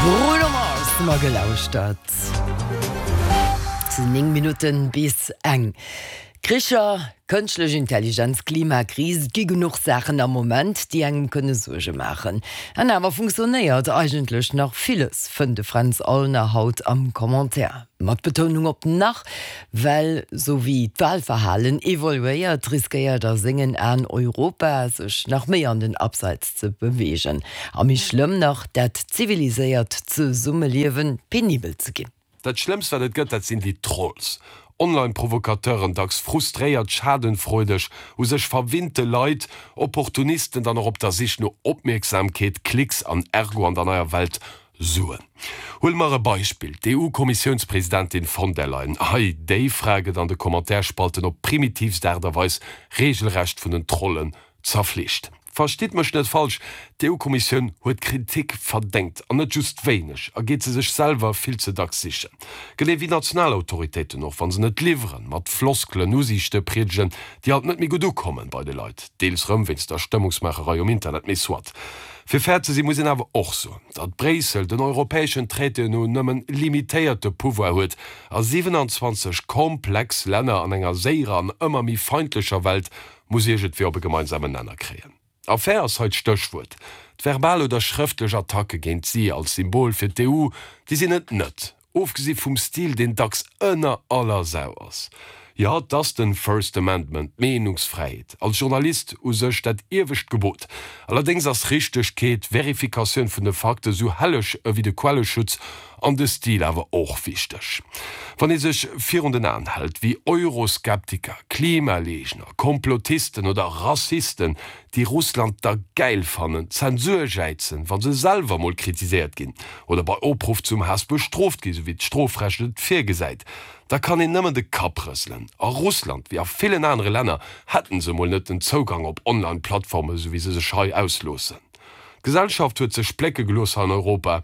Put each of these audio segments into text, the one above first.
Bruno Mars hu mer gelauschtert. Et sinn 9 Minutten bis eng. Kricher, kënschtlech Intelligenz, Klimakris, et gi genuch Saachen am Moment, déi engem kënne Suerge maachen. An awer funktionéiert eigentlech nach villes, fënnt de Fränz Aulner haut am Commentaire. Mat Betounung op nach, well sou wéi d'Walverhalen evoluéiert, riskéiert a sengen Aen Europa sech nach méi an den Abseits ze beweegen. A méi schlëmm nach, dat ziviliséiert Zesummeliewe penibel ze ginn. Dat Schlëmmst wat et gëtt, dat sinn déi Trolls. Online-Provokateuren, dacks frustréiert, schadenfreudeg, u sech verwinnte Leit, Opportunisten, dann och op der Sich no Opmierksamkeet, Klicks an ergo an der neier Welt Suen. Huele mer e Beispill, d'EU-Kommissiounspresidentin von der Leyen. Hei, déi Fra gëtt an de Commentaire-Spalten op primitivst Aart a Weis regelrecht vun den Trollen zerfleegt. Verstitt mech net falsch, d'EU-Kommissioun huet Kritik verdéngt, an net just wéineg, a geet se sech selwer vill ze dacks sichen. Genee wéi national Autoritéiten och, wa se net liwweren, mat Floskelen Usiichte priedegen, déi alt net méi gutt ukommen bei de Leit, deels rëm wéinst der Stëmmungsmaacherei um Internet, mee soit. Fir fair ze sinn, muss een awer och soen, datt Bréissel den europäeschen Traitéen no nëmmen limitéierte Pouvoir huet a 27 komplex Länner an enger séierer an ëmmer méi feindlecher Welt muss iergendwéi op e gemeinsamen Nenner kréien. A fair ass hei d'Stéchwuert. D'verbal oder schrëftlech Attacke géint si als Symbol fir d'EU, déi sinn et net. Ofgesi vum Stil, deen dacks ënner aller Sau ass. Jo, 't ass den First Amendment, d'Meenungsfräiheet, als Journalist u sech dat iewescht Gebot. Allerdéngs ass Richtegkeet, Verifikatioun vun de Fakte sou helleg ewéi de Quelleschutz an de Stil awer och wichteg. Wann ee sech virun den Aen hält, wéi Euroskeptiker, Klimaleegner, Komplotisten oder Rassisten, déi Russland da gäil fannen, Zensur jäizen, wa se selwer mol kritiséiert ginn oder bei Opruff zum Haass bestrooft ginn, sou wéi d'Strofrecht et virgesäit, da kann een nëmmen de Kapp rëselen. A Russland, wéi a villen anere Länner, hätten se mol net den Zougang op Online-Plattformen, sou wéi se sech hei ausloossen. D'Gesellschaft huet sech splécke gelooss hei an Europa,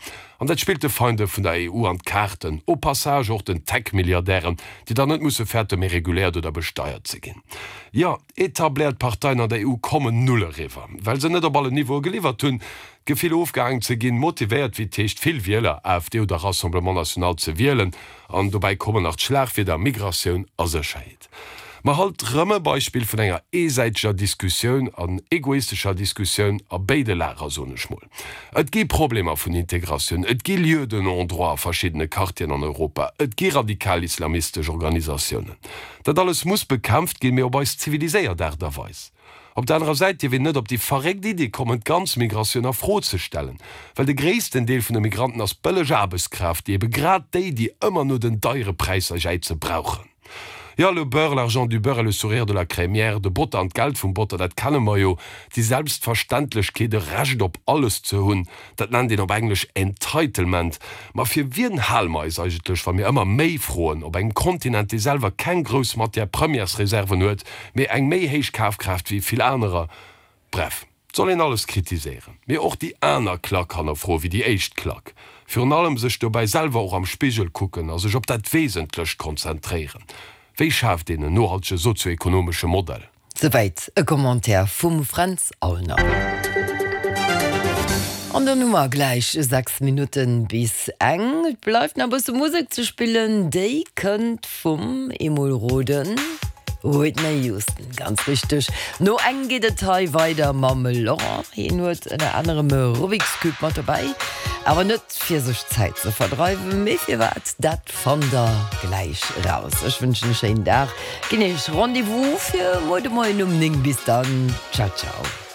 an dat spillt de Feinde vun der EU an d'Kaarten, au passage och den Tech-Milliardären, déi dann net musse fäerte méi reguléiert oder besteiert ze ginn. Jo, Etabléiert Parteien an der EU kommen null eriwwer, well se net op allen Niveaue geliwwert hunn. D'Gefill ofgehaangen ze ginn, motivéiert wéi et heescht vill Wieler, AfD oder Rassemblement National, ze wielen. An dobäi kommen nach d'Schlagwierder Migratioun a Sécherheet. Ma halt rëm e Beispill vun enger eesäiteger Diskussioun an egoistescher Diskussioun a béide Lager, soen ech mol. Et gi Problemer vun Integratioun, et gi Lieux de non-droit a verschiddene Quartieren an Europa, et gi radikal-islamistesch Organisatiounen. Dat alles muss bekämpft ginn, mee op eis ziviliséiert Aart a Weis. Op der anerer Säit dierf een net op déi verréckt Iddi kommen, d'ganz Migratioun a Fro ze stellen, well de gréissten Deel vun de Migranten ass bëlleg Aarbechtskraaft, déi ebe grad déi, déi ëmmer no den deiere Präisser jäize, brauchen. Jo, le beurre, l'argent du beurre et le sourire de la crémière, de Botter an d'Geld vum Botter, dat kenne mer jo. Déi Selbstverständlechkeet, e Recht op alles ze hunn, Dat nennt een op Englesch Entitlement. Ma fir wien hale mer eis eigentlech, wa mir ëmmer méi froen op engem Kontinent, dee selwer keng grouss Matière-premières-Reserven huet, mee eng méi héich Kafkraaft wéi vill anerer? Bref, et soll een alles kritiséieren, mee och déi aner Klack hannerfroe wéi déi éischt Klack. Virun allem sech dobäi selwer och am Spigel kucken a sech op dat Wesentlecht konzentréieren. Wéi schaaft een en nohaltege sozio-ekonomesche Modell? Souwäit e Commentaire vum Fränz Aulner. An dann hu mer gläich 6 Minutten bis eng. Et bleift nach e bësse Musek ze spillen. Déi kënnt vum, eemol roden, Whitney Houston, ganz richteg. No eng geet et hei weider mam Laurent. Hien huet ënner anerem e Rubik's Cube mat dobäi, awer net fir sech d'Zäit ze verdreiwen, mee firwat, dat fannt der gläich raus. Ech wënschen e schéinen Dag. Ginn iech Rendez-vous fir muer de Moien um 9. Bis dann, ciao ciao.